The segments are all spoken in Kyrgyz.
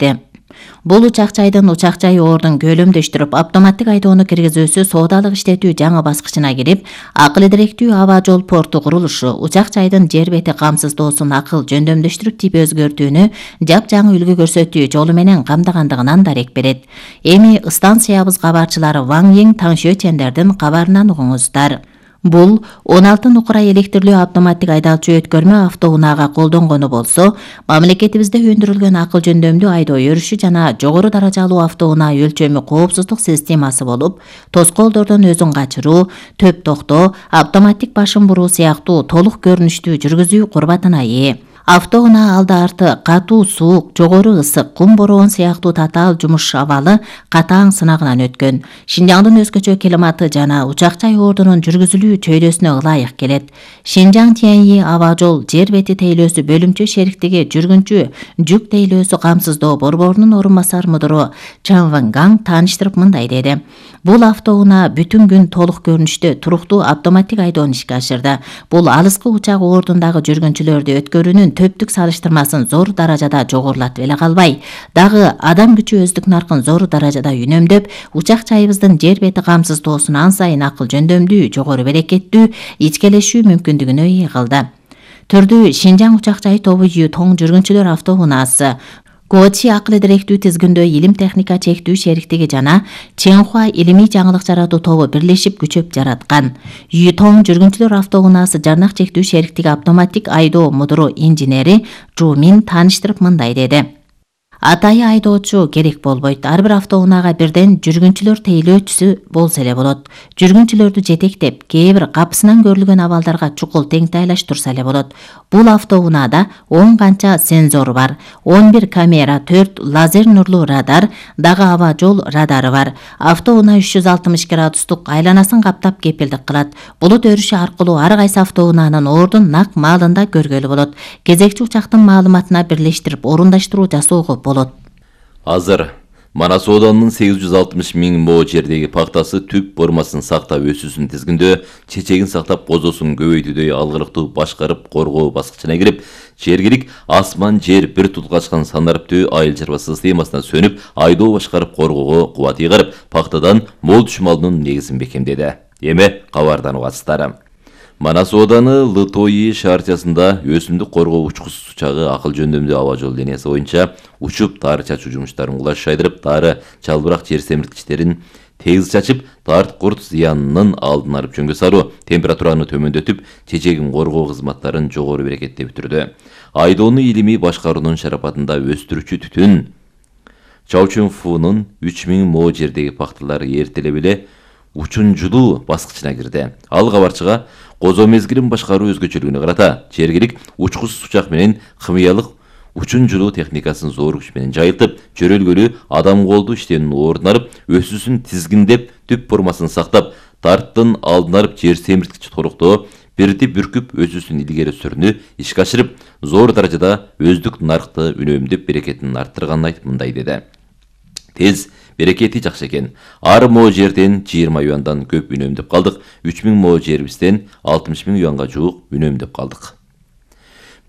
беришти. Бул учак-жайдын учак-жай ордун көлөмдөштүрүп, автоматтык айдоону киргизүүсү соодалык иштетүү жаңы баскычына кирип, акыл эдиректүү аба жол порту курулушу, учак-жайдын жер бети камсыздоосун акыл жөндөмдөштүрүп тип өзгөртүүнү жапжаңы үлгү көрсөтүү жолу менен камдагандыгынан дарек берет. Эми станциябыз кабарчылары Ван Ең Таңшөчендердин кабарынан угуңуздар. Бул 16 нукура электрлүү автоматтык айдалчу өткөрмө автоунаага колдонгону болсо, мамлекетибизде өндүрүлгөн акыл жөндөмдүү айдоо өрүшү жана жогору даражалуу автоунаа өлчөмү коопсуздук системасы болуп, тоскоолдордон өзүн качыруу, төп токтоо, автоматтык башын буруу сыяктуу толук көрүнүштүү жүргүзүү курбатына ээ. Автоунаа алды-арты катуу суук, жогору ысык, кум бороон сыяктуу татаал жумуш абалы катаң сынагынан өткөн. Шинжаңдын өзгөчө климаты жана учак-жай ордунун жүргүзүлүү чөйрөсүнө ылайык келет. Шинжаң Тяньи аба жол жер бети тейлөөсү бөлүмчө шериктиги жүргүнчү жүк тейлөөсү камсыздоо борборунун орун басар мудуру Чан Вангаң тааныштырып мындай деди. Бул автоунаа бүтүн күн толук көрүнүштө туруктуу автоматтык айдоону ишке ашырды. Бул алыскы учак ордундагы жүргүнчүлөрдү өткөрүүнүн төптүк салыштырмасын зор даражада жогорулатып эле калбай, дагы адам күчү өздүк наркын зор даражада үнөмдөп, учак-жайыбыздын жер бети камсыздоосун ан сайын акыл жөндөмдүү, жогору берекеттүү ичкелешүү мүмкүндүгүнө ээ кылды. Түрдүү Шинжаң учак-жай тобу Ютоң жүргүнчүлөр автоунаасы, Гочи акыл эдиректүү тизгиндөө илим техника чектүү шериктиги жана Ченхуа илимий жаңылык жаратуу тобу бирлешип күчөп жараткан. Ютоң жүргүнчүлөр автоунаасы жарнак чектүү шериктиги автоматтык айдоо мудуру инженери Жу Мин тааныштырып мындай деди. Атайы айдоочу керек болбойт. Ар бир автоунаага бирден жүргүнчүлөр тейлөөчүсү болсо эле болот. Жүргүнчүлөрдү жетектеп, кээ бир капысынан көрүлгөн абалдарга чукул теңтайлаш турса эле болот. Бул автоунаада 10 канча сензор бар, 11 камера, 4 лазер нурлуу радар, дагы аба жол радары бар. Автоунаа 360 градустук айланасын каптап кепилдик кылат. Булут өрүшү аркылуу ар кайсы автоунаанын ордун нак маалында көргөлү болот. Кезекчи учактын маалыматына бирлештирип орундаштыруу жасоого болот. Азыр Манас Оданынын 860 миң мо жердеги пактасы түп формасын сактап өсүүсүн тизгиндөө, чечегин сактап козосун көбөйтүүдөй алгырыктуу башкарып коргоо баскычына кирип, жергилик асман жер бир тутгачкан санариптүү айыл чарба системасына сөнүп, айдоо башкарып коргоого кубат ыйгарып, пактадан мол түшүм алуунун негизин бекемдеди. Эми кабардан угасыздар. Манас Ооданы Лытои шаарчасында өсүмдүк коргоо учкусуз учагы акыл жөндөмдүү аба жол линиясы боюнча учуп тары чачуу жумуштарын кулаш шайдырып, тары чалбырак жер семирткичтерин тегиз чачып, тарт курт зыянынын алдын алып жөнгө саруу, температураны төмөндөтүп, чечегин коргоо кызматтарын жогору берекеттеп бүтүрдү. Айдоону илимий башкаруунун шарапатында өстүрүүчү түтүн Чаучунфунун 3000 мо жердеги пакталары эртелеп эле учунжулуу баскычына кирди. Ал кабарчыга козо мезгилин башкаруу өзгөчөлүгүнө карата жергилик учкусуз учак менен химиялык учунжулуу техникасын зор күч менен жайылтып, чөрөлгөлүү адам колду иштөөнүн ордун алып, өсүүсүн тизгиндеп, түп формасын сактап, тарттын алдын алып жер семирткич торуктоо, бирди бүркүп өсүүсүн илгери сүрүүнү ишке ашырып, зор даражада өздүк наркты үнөмдөп берекетин арттырганын айтып мындай деди. Тез берекети жакшы экен. Ар мо жерден 20 юандан көп үнөмдөп калдык. 3000 мо жерибизден 60 000 юанга жуук үнөмдөп калдык.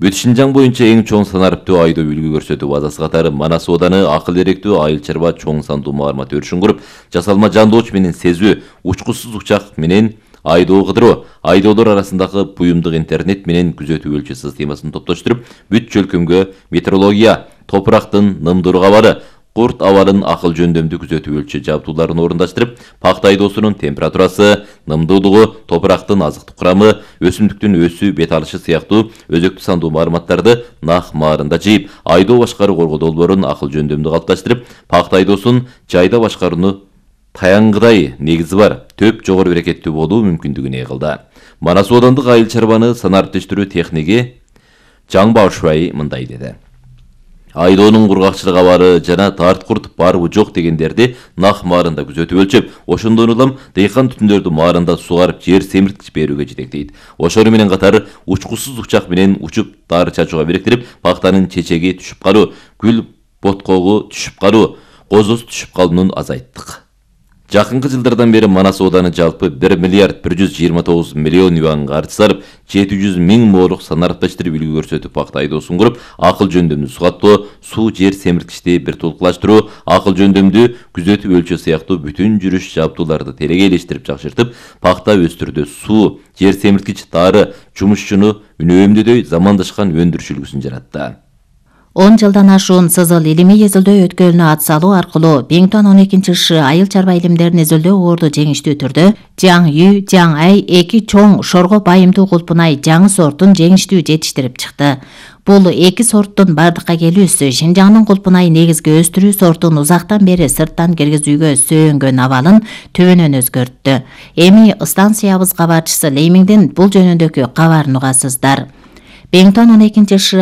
Бүт Шинжаң боюнча эң чоң санариптүү айдоо үлгү көрсөтүү базасы катары Манас Ооданы акыл эректүү айыл чарба чоң сандуу маалымат өрүшүн куруп, жасалма жандооч менен сезүү, учкусуз учак менен айдоо кыдыруу, айдоолор арасындагы буюмдук интернет менен күзөтүү өлчө системасын топтоштуруп, бүт чөлкөмгө метеорология, топурактын нымдуу абалы, курт абалын акыл жөндөмдүү күзөтүү өлчө жабдууларын орундаштырып, пакта айдоосунун температурасы, нымдуулугу, топурактын азыктык курамы, өсүмдүктүн өсүү бет алышы сыяктуу өзөктүү сандуу маалыматтарды нак маарында жыйып, айдоо башкаруу коргоо долбоорун акыл жөндөмдүү калыпташтырып, пакта айдоосун жайда башкарууну таянгыдай негизи бар, төп жогору берекеттүү болуу мүмкүндүгүн ээ кылды. Манас Оодандык айыл чарбаны санариптештирүү техниги Жаң Баошуай мындай деди. Айдоонун кургакчылык абары жана тарт курт барбы жок дегендерди нак маарында күзөтүп өлчөп, ошондон улам дыйкан түтүндөрдү маарында сугарып жер семирткич берүүгө жетектейт. Ошону менен катары учкусуз учак менен учуп тары чачууга бириктирип, пактанын чечеги түшүп калуу, гүл боткогу түшүп калуу, козосу түшүп калуунун азайттык. Жакынкы жылдардан бери Манас ооданы жалпы 1 миллиард 129 миллион юанга арыз сарып, 700 миң моолук санарипташтырып үлгү көрсөтүп акты айдоосун куруп, акыл жөндөмдү сугаттоо, суу жер семирткичти бир толуклаштыруу, акыл жөндөмдү күзөтүп өлчөө сыяктуу бүтүн жүрүш жабдууларды телегейлештирип жакшыртып, пакта өстүрүүдө суу, жер семирткич, дары, жумушчуну үнөөмдөдөй замандашкан өндүрүш үлгүсүн жаратты. 10 жылдан ашуун сызыл илимий изилдөө өткөлүнө ат салуу аркылуу Беңтон 12-шы айыл чарба илимдерин изилдөө орду жеңиштүү түрдө Жаң Үй, Жаң Ай эки чоң шорго байымдуу кулпунай жаңы сортун жеңиштүү жетиштирип чыкты. Бул эки сорттун бардыкка келүүсү Шинжаңдын кулпунай негизги өстүрүү сортун узактан бери сырттан киргизүүгө сөөнгөн абалын төбөнөн өзгөрттү. Эми станциябыз кабарчысы Леймиңдин бул жөнүндөгү кабарын угасыздар. Беңтон 12-шы